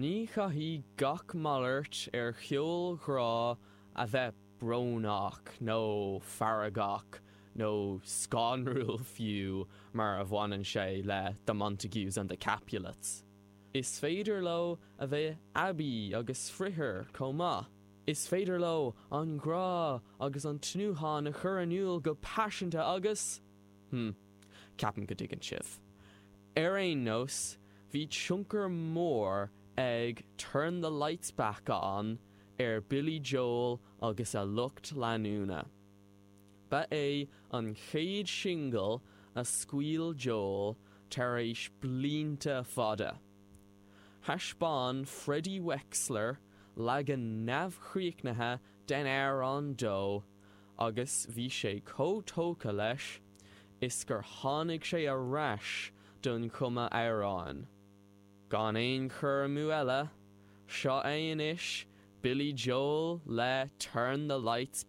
Ní chaithfidh gach malairt ar cheol grá a bheith brónach nó feargach nó scanrúil fiú mar a bhaineann sé le The Montagues and the Capulets. Is féidir leo a bheith aibí agus saibhir chomh maith. Is féidir leo an grá agus an tnúthán a chur in iúl go paiseanta agus. Hm, ceapaim go dtuigeann sibh. Ar aon nós, bhí tionchar mór ag Turn the Lights Back On ar Billy Joel agus a lucht leanúna. Ba é an chéad singil a scaoil Joel tar éis blianta fada. Thaispeáin Freddie Wexler leagan neamhchríochnaithe den amhrán dó agus bhí sé chomh tógtha leis is gur tháinig sé ar ais don chumadh amhráin. Gan aon chur amú eile, seo é anois Billy Joel le Turn the Lights.